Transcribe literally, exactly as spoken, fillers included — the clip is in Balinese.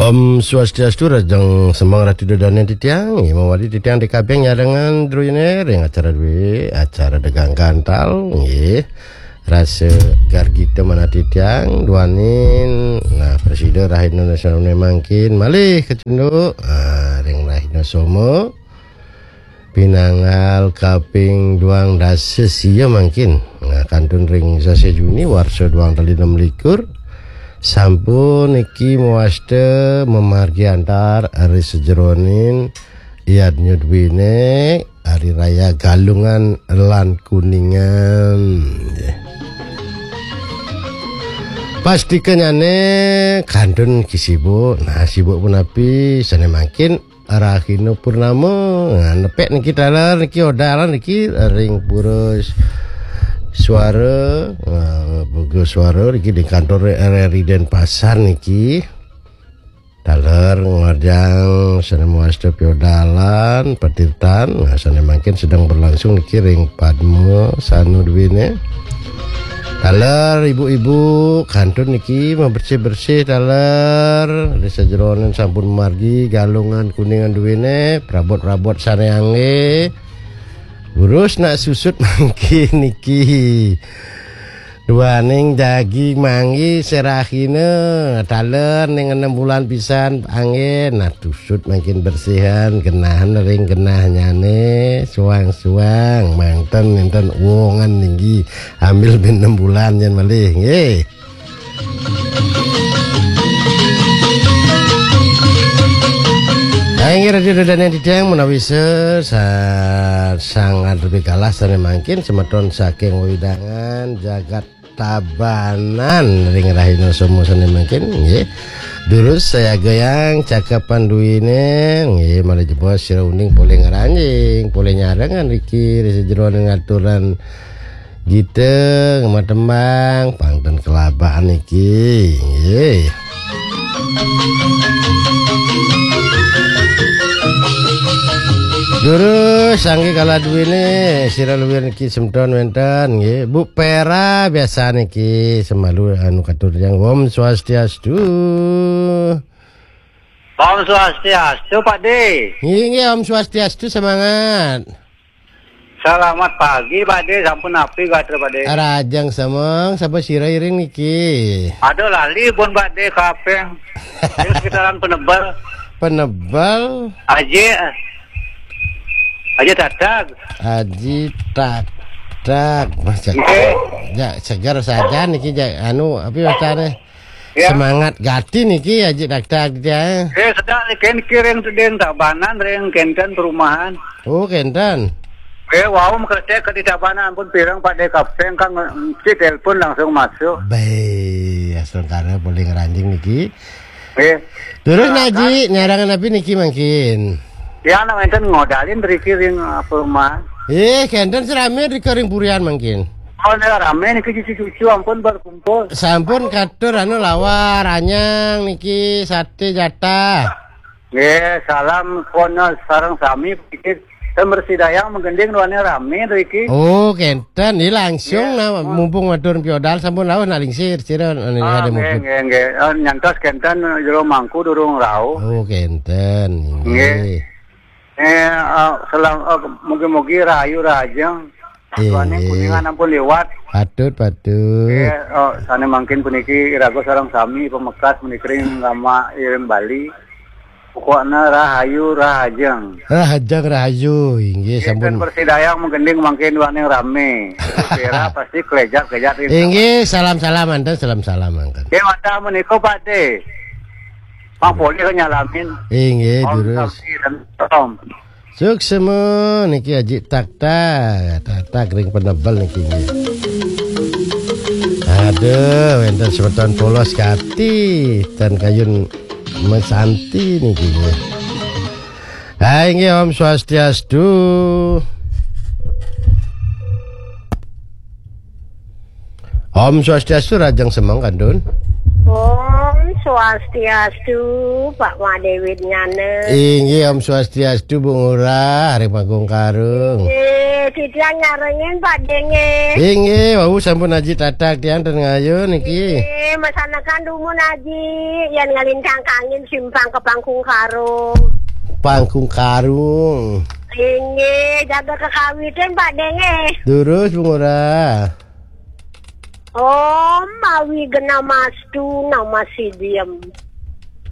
Om Swastiastu, rahajeng semeng Ratu Dodane titiang, nggih, mawali titiang D K B nyarengan druene ring acara dwi, acara Degang Gantal, nggih. Rasa gargita manah titiang, duaning, nah, prasida rahina sane mangkin, malih kacunduk, ah, ring rahina Soma. Pinanggal kaping duang dasa sia mangkin. Nah, kantun ring sasih Juni warsa duang tali enam likur. Sampun niki mawasta mamargi antar ari sajeroning yadnya duwene Hari Raya Galungan lan Kuningan. Nggih. Pastikanyane kantun niki sibuk. Nah, sibuk punapi sane mangkin Rahina Purnama, nah, nepek niki taler niki odalan niki ring Pura Suara, nah, Pura Suara niki di kantor R R I Denpasar niki. Taler ngajeng sane mawasta piodalan patirtan, nah, sane mangkin sedang berlangsung niki ring Padma Sanu duwene. Taler ibu-ibu kantun niki mabersih-bersih taler. Ri sajeroning sampun margi Galungan Kuningan duwene, prabot-prabot sane angge. Durus nak susut mangkin niki. Duaning jagi manggi serahina taler ning enem bulan pisan angge. Nah, tusut mangkin bersihan, genahan ring genahnyane, suang-suang, mangten nenten wongan ninggi. Ambil ben enam bulan nyen malih, nggih. Nah, inggih Ratu Dodane titiang menawi sa-, sa-, sangat lebih kalah sane mangkin semeton saking wewidangan jagat Tabanan ring rahina Soma sane mangkin, nggih. Durus sayagayang cakapan duwine, nggih, malih jebos sira uning polih ngranjing, polih nyarengan riki ri sajeroning aturan gita, ngematembang, pang ten kelabahan niki, nggih. Durus, sanggih kala duwene, sira luwir niki semeton wenten, nggih. Bu Pera biasa niki semalu anu katur yang Om Swastiastu. Om Swastiastu, Pak De. Nggih, nggih, Om Swastiastu, semangat. Selamat pagi, Pak De. Sampun napi gatra, Pak De? Rajang semeng, sapa sira iring niki? Aduh, lali pun, Pak De, kapeng. Ring sekitaran Penebel. Penebel? Aji. Aji Tatag. Aji Tatag. Mas, jak, nggih. Jak seger saja niki, jak anu, apa wastane? Ya. Semangat gati niki, Aji Tatag, ya. Eh, sedang niki, niki ring teding Tabanan, ring kenten perumahan. Oh, kenten. Eh, wau mekretek ke di Tabanan, ampun pireng Pak De kapeng, kang nci telepon langsung masuk. Be, astungkara polih ngranjing niki. Eh. Durus, silakan. Naji, nyarangan napi niki mangkin? Ya, nak wenten ngodalin riki ring, eh, perumahan. Eh, kenten serame rika ring purian mangkin. Oh, nah, rame niki cucu-cucu, ampun berkumpul. Sampun katur anu lawar, anyang niki sate jatah. Nggih, salam kono sareng sami pikir. Ten bersidayang menggending duane rame to iki. Oh, kenten. Ini langsung. Nggih. Nah, mumpung matur piodal sampun rauh nak lingsir sira anu. Ah, ada nggih, mungkin. Nggih, nggih. Eh, nyantos kenten jero mangku durung rauh. Oh, kenten. Nggih. Nggih. Eh, eh, selam-, eh, mugi-mugi rahayu rahajeng. Nggih. Duane Kuningan ampun liwat. Patut, patut. Nggih, eh, sane mangkin puniki iraga sareng sami pamekas menika ring Rama Iring Bali. Pokokna rahayu rahajeng. Rahajeng rahayu, inggih, nggih, sampun. Ten bersidayang menggending mangkin duaning rame. Pera pasti kelejat-kelejat ring. Inggih, salam-salam anten, salam-salam mangkin. Nggih, wantah menika, Pak De. Mang polih nyalamin. Inggih, Om durus. Santi dan Om. Suksema niki Aji Taktak, Taktak ring Penebel niki nggih. Aduh, wenten semeton polos kati, ten kayun mesanti niki nggih. Ah, inggih, Om Swastiastu. Om Swastiastu, rajeng semeng kantun. Om Swastiastu, Pak Madewit Nyana. Inggih, Om Swastiastu, Bu Ngurah, ring Panggung Karung. Inggih, Titiang nyarengin Pak Denge. Inggih, wau sampun Aji Tatak tiang ten ngayu niki. Eh, masanekan dumun Aji, yang ngalintang kangin simpang ke Pangkung Karung. Pangkung Karung. Inggih, jaga kekawitin Pak Denge. Durus Bu Ngurah. Om mawi gena mastu nama sidiem.